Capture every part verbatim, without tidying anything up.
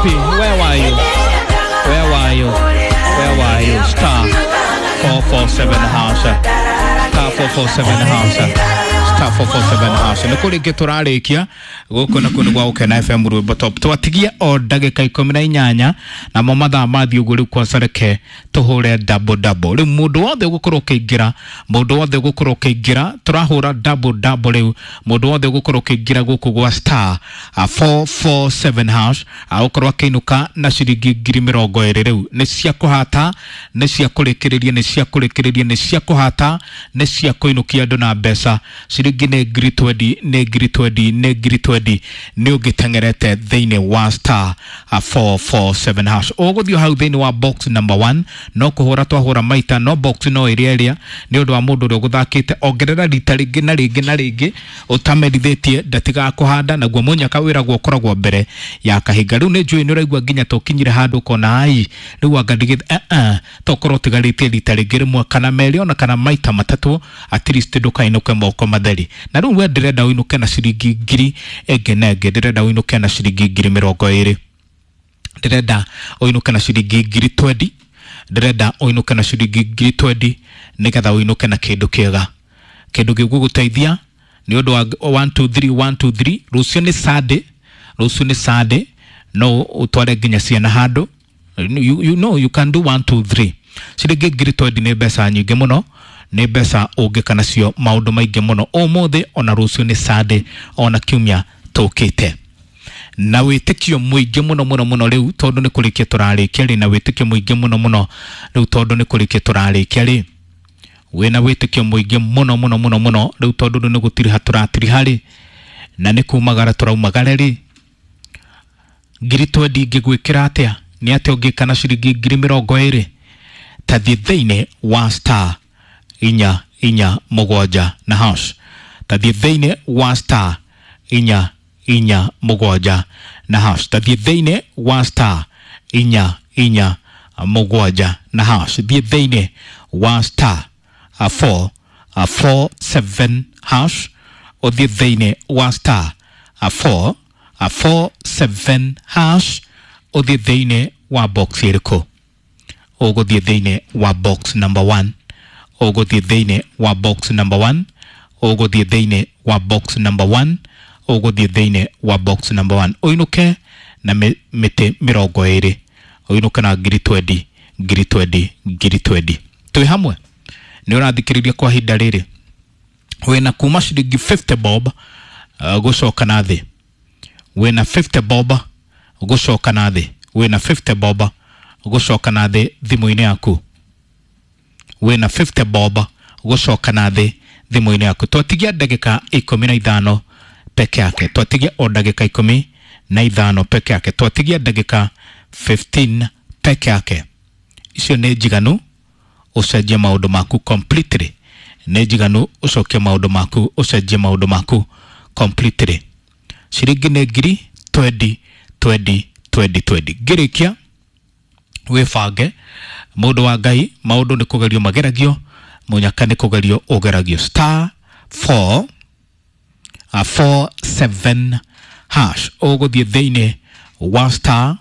Wapi? Where were you? Where were you? Where were you? Star four four seven hash. Star four four seven hash. Star four four seven hash. Nĩ kũrĩ ngĩ tũrarĩkia gũkũ na kũndũ gwa Gũkena F M Rwĩmbo Top. Twatigia o ndagĩka ikũmi na inyanya namo mathaa mathiĩ ũguo rĩu kwanza reke tũhũre double double. Rĩu mũndũ wothe ũgũkorwo ũkĩingĩra, mũndũ wothe ũgũkorwo ũkĩingĩra, tũrahũra double double rĩu. Mũndũ wothe ũgũkorwo ũkĩingĩra gũkũ gwa star four four seven hash agũkorwo akĩinũka na ciringi ngiri mĩrongo ĩrĩ rĩu. Nĩ cia kũhata, nĩ cia kũrĩkĩrĩria, nĩ cia kũrĩkĩrĩria, nĩ cia kũhata, nĩ cia kũinũkia andũ na mbeca. Ciringi nĩ ngiri twendi, nĩ ngiri twendi, nĩ ngiri twendi nĩ ũngĩteng'erete thĩinĩ wa star four four seven hash. Ũgũthiĩ hau thĩinĩ wa box number one, no kũhũra twahũra maita, no box no ĩrĩa ĩrĩa nĩ ũndũ wa mũndũ ũrĩa ũgũthakĩte. Ongerera rita rĩngĩ na rĩngĩ na rĩngĩ ũtamerithĩtie ndatigaga kũhanda, naguo mũnyaka wĩragwo ũkoragwo mbere ya kahinga. Rĩu nĩ njũĩ nĩ ũraigua nginya tũkinyire handũ ũkona ai rĩu anga ndigĩ eh eh tokorwo ũtigarĩtie rita rĩngĩ rĩmwe kana merĩ ona kana maita matatũ, at least ndũkainũke moko matheri. Na rĩu we ndĩrenda ũinũke na ciringi ngiri ĩngĩ na ĩngĩ, ndĩrenda ũinũke na ciringi ngiri mĩrongo ĩrĩ, ndĩrenda ũinũke na ciringi ngiri twendi, ndĩrenda ũinũke na ciringi ngiri twendi nĩgetha ũinũke na kĩndũ kĩega, kĩndũ gĩgũgũteithia nĩ ũndũ wa one two three one two three. Rũciũ nĩ Sunday, rũciũ nĩ Sunday, no ũtware nginya ciana handũ. You, you know you can do one two three. Ciringi ngiri twendi nĩ mbeca nyingĩ mũno, nĩ mbeca ũngĩka nacio maũndũ maingĩ mũno ũmũthĩ ona rũciũ nĩ Sunday ona kiumia tũkĩte. Na wĩtĩkio mũingĩ mũno mũno mũno rĩu tondũ nĩ kũrĩkia tũrarĩkia rĩ, na wĩtĩkio mũingĩ mũno mũno rĩu tondũ nĩ kũrĩkia tũrarĩkia rĩ, wĩna wĩtĩkio mũingĩ mũno mũno mũno mũno rĩu tondũ rĩu nĩ gũtiriha tũratiriha rĩ, na nĩ kumagara tũraumagara rĩ, ngiri twendi ingĩgwĩkĩra atĩa? Nĩ atĩa ũngĩka na ciringi ngiri mĩrongo ĩrĩ? Ta thiĩ thĩinĩ wa star inya inya mũgwanja na hash. Ta thiĩ thĩinĩ wa star inya inya mũgwanja na hash. Ta thiĩ thĩinĩ wa star inya inya mũgwanja na hash. Thiĩ thĩinĩ wa star four four seven hash. Ũthiĩ thĩinĩ wa star four four seven hash. Ũthiĩ thĩinĩ wa box ĩrĩkũ? Ũgũthiĩ thĩinĩ wa box number one. Ũgũthiĩ thĩinĩ wa box number one. Ũgũthiĩ thĩinĩ wa box number one. Ũgũthiĩ thĩinĩ wa box number one. Ũinũke na mĩtĩ mĩrongo ĩrĩ, ũinũke na ngiri twendi, ngiri twendi, ngiri twendi. Twĩ hamwe nĩ ũrathikĩrĩria kwa ihinda rĩrĩ wĩna kuma ciringi fifty bob uh, gũcoka na thĩ, wĩna fifty bob gũcoka na thĩ, wĩna fifty bob gũcoka na thĩ thimũ-inĩ yaku, wĩna fifty bob gũcoka na thĩ thimũ-inĩ yaku. Twatigia ndagĩka ikũmi na ithano peke yake, twatigia o ndagĩka ikũmi na ithano peke yake, twatigia ndagĩka fifteen peke yake. Icio nĩ njiganu ũcenjie maũndũ maku completely, nĩ njiganu ũcokie maũndũ maku, ũcenjie maũndũ maku completely. Ciringi nĩ ngiri twendi twendi twendi twendi. Ngĩrĩkia wĩbange mũndũ wa Ngai, maũndũ nĩ kũgerio mageragio, mũnyaka nĩ kũgerio ũgeragio. Star four four seven hash. Ũgũthiĩ thĩinĩ wa star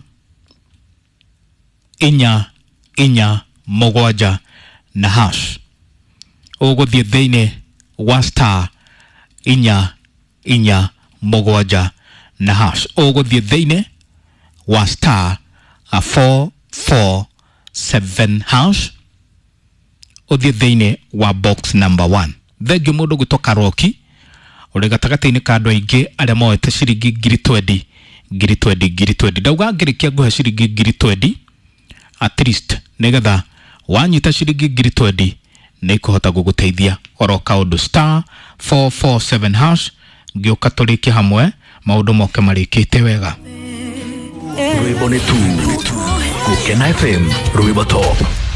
inya inya mũgwanja na hash. Ũgũthiĩ thĩinĩ wa star inya inya mũgwanja na hash. Ũgũthiĩ thĩinĩ wa star four four seven hash. Ũthiĩ thĩinĩ wa box number one. Thengiũ mũndũ gwĩtwo Karoki ũrĩ gatagatĩ-inĩ ka andũ aingĩ arĩa moete ciringi ngiri twendi, ngiri twendi, ngiri twendi. Ndauga ngĩrĩkia ngũhe ciringi ngiri twendi at least nĩgetha wanyita ciringi ngiri twendi nĩ ikũhota gũgũteithia oro kaũndũ. Star four four seven hash. Ngĩũka tũrĩkie hamwe maũndũ moke marĩkĩte wega. Rwĩmbo nĩ tu Gũkena F M Rwĩmbo Top.